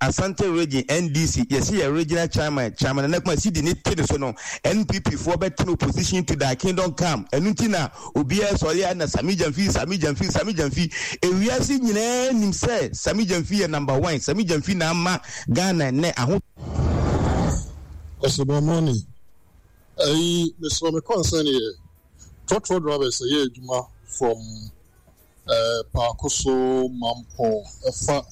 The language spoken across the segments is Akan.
Asante Region NDC yɛsi yɛ regional chairman chairman Nana Kuma sidi ne te ne so no NPP foɔ bɛtena opposition to thy kingdom come ɛno nti na obiara sɔre a na Sami Gyamfi Sami Gyamfi Sami Gyamfi ewiase nyinaa nim sɛ Sami Gyamfi yɛ number one Sami Gyamfi na ama Ghana nnɛ aho Ɔsebɔ morning. Ɛyi mesrɛ me concern yɛ trɔtrɔ drivers ɛyɛ adwuma from eh, Paako so Mampɔn ɛfa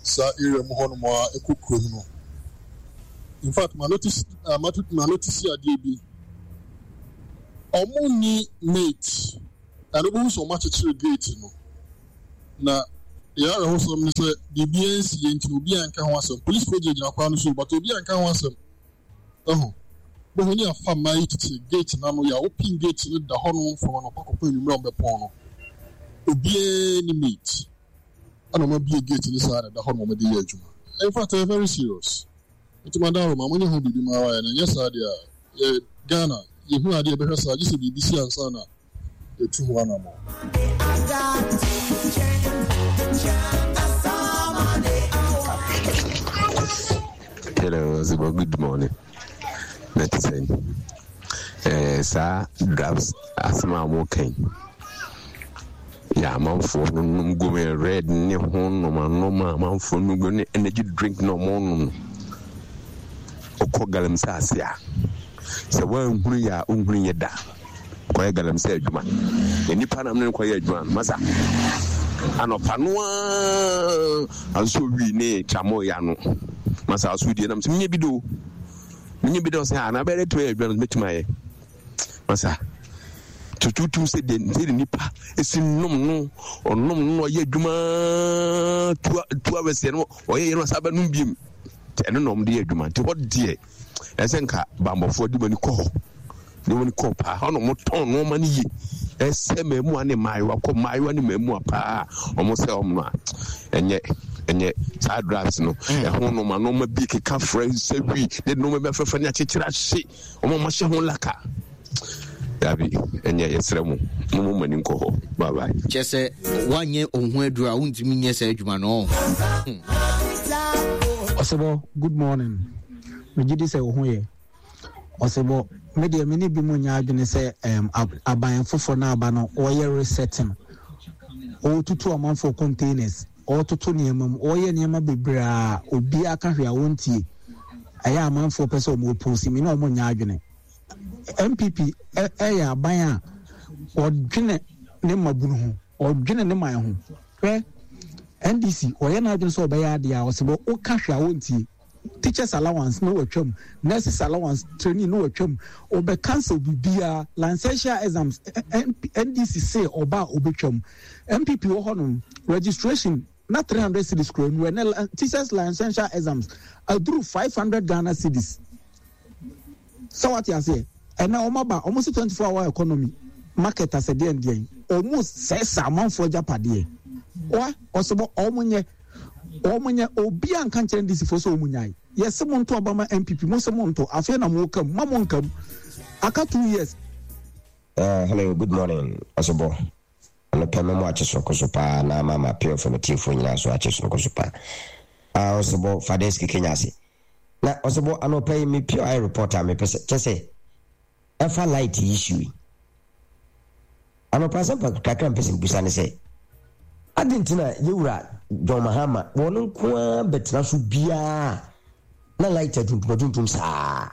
saa area mu hɔnom a ɛkɔ kurom no. In fact, ma notice uh, ma notice adeɛ bi. Ɔmo nni mate. Ɛno bɛhu sɛ ɔmo akyekyere gate no. Na deɛ awerɛhosɛm ne sɛ biribiara nsi yɛ nti no obiara nka ho asɛm. Polisifoɔ gyinagyina kwan no so but obiara nka ho asɛm. Ɛho. Bɛhu ne afa mmaa yi tete gate no ano yɛ a wopin gate no da hɔ nom from anɔpa kɔpem anwummerɛ a wɔbɛpɔn no. Obiara ni mate. Ɛna wɔn abie gate no saa na ɛda hɔ nom wɔde yɛ adwuma. In fact, ɛyɛ very serious. Nti madam Roma, monyɛ ho biribi ma ara yɛ na ɛnyɛ saa deɛ a yɛ Ghana yɛhu adeɛ yɛbɛhwɛ saa gye sɛ biribi si ansa na yɛtu ho anammɔn. Hello, Zibo, good morning. Na te sɛn? Eh, saa drugs asɛm a wɔka yi yɛ amanfoɔ no nom gu me red ne ho noma noma amanfoɔ no gu ne energy drink na wɔn nom no ɔkɔ galamsey ase a sɛ wɔanhunu yɛ a ɔnhunu yɛ da kɔyɛ galamsey adwuma na nipa nam ne no kɔyɛ adwuma no masa anɔpa no ara nso wi ne tramɔ ya no masa aso die nam sɛ menyɛ bi do menyɛ bi do sɛ ana bɛyɛ tumi ayɛ adwuma no mɛtumi ayɛ masa tututu sɛ deɛ sɛ nipa esi nom no ɔnom no ɔyɛ adwuma two hours yɛ no ɔyɛ yɛ no asa bɛnom biem ɛno na ɔmo de yɛ adwuma nti hɔ deɛ ɛsɛ nka bambɔfoɔ de wɔn ani kɔ hɔ de wɔn ani kɔ paa hɔ na wɔn tɔn nneɛma no yie ɛsɛ mmaamua ne mmaayewa kɔ mmaayewa ne mmaamua paa wɔn sɛ wɔn no a ɛnyɛ ɛnyɛ saa drugs no mm. ɛho nneɛma nneɛma bi keka frɛ sɛ wi ne nneɛma bi afɛfɛ ne akyekyere ahye wɔn a wɔahyɛ ho laka dabi ɛnyɛ yɛsrɛ mo mo mo mani nkɔ hɔ bye bye. Kyɛ sɛ woanyɛ wo ho aduru a wontumi nyɛ saa adwuma no. Hmm. Ɔsebɔ, good morning. Megye di sɛ wo ho yɛ. Ɔsebɔ, me deɛ me ne bi mu nyɛ adwene sɛ um, aban foforɔ no aba no wɔyɛ resetting. Wɔtutu amanfoɔ containers, wɔtoto nneɛma mu, wɔyɛ nneɛma bebree a obiara ka hwee a wɔntie. Ɛyɛ amanfoɔ pɛ sɛ wɔn oppose me ne wɔn nyɛ adwene. NPP yɛ aban a ɔdwene ne mmabunu ho, ɔdwene ne man ho. Hwɛ, NDC ɔyɛ n'adwene sɛ ɔbɛyɛ adeɛ a ɔsɛ bɔ woka hwɛ a wɔntie. Teachers allowance no watwam, nurses allowance training no watwam, ɔbɛ cancel biribiara, licential exams NDC se ɔba a ɔbɛtwam. NPP wɔ hɔnom, registration na 300 cedis kura mu ɛnɛ teachers licential exams aduru 500 Ghana cedis. Sɛ wate aseɛ? Ɛnɛ wɔn aba, wɔn se 24 hour economy, market asɛ deɛn deɛn, wɔn sɛɛsɛ amanfoɔ agyapadeɛ. Wa, ɔsebɔ, wɔn nyɛ, wɔn nyɛ, obi a nka nkyerɛ NDC foɔ sɛ wɔn nyae. Yɛse mo nto aba ma NPP, mo se mo nto, afei na mo ka mu, ma mo nka mu. Aka 2 years. Hello, good morning, Ɔsebɔ. Anɔpa mɛmo akye soroko so paa na ama ma PFM atiefoɔ nyinaa so akye soroko so paa. Ah, Ɔsebɔ, Fadeski Kenya ase. Na Ɔsebɔ, anɔpa yi me POI report a mepɛ sɛ, kyɛ sɛ, ɛfa light issue yi. Anɔpa asɛm kakra mpɛ sɛ mbusa ne sɛ, adi nti na yɛwura John Mahama wɔn nko ara bɛtena so biara na light atuntum atuntum saa.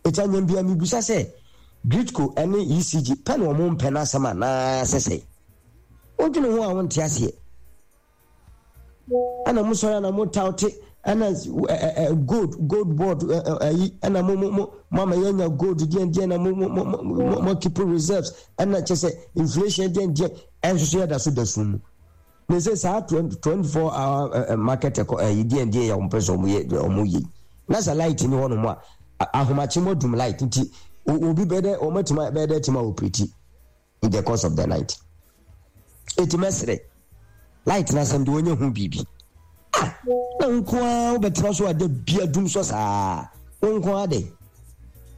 Eti anyam biara mebisa sɛ Gridco ne ECG pɛ na wɔn mpɛ n'asɛm anaa sɛ sɛ? Wodwene ho a wonte aseɛ. Ɛna mo sɔre na mo taute ɛna ɛ gold gold board ɛyi ɛna mo mo mo mo ama yɛnya gold deɛ deɛ na mo mo mo mo mo keep reserves ɛna kyɛ sɛ inflation deɛ deɛ ɛnso so yɛda so da sum mu. Na sɛ saa 24 hour market ɛkɔ ɛyi deɛ deɛ yɛ wɔn pɛ sɛ wɔn yɛ wɔn yɛ na sɛ light ni hɔ nom a ahomakye mo dum light nti obi bɛ dɛ wɔn atuma bɛ dɛ tuma operate in the course of the night eti mɛsrɛ light na asɛm de wɔnyɛ ho biribi ah na nko ara wobɛtena so a da bia dum sɔ saa wo nko ara de.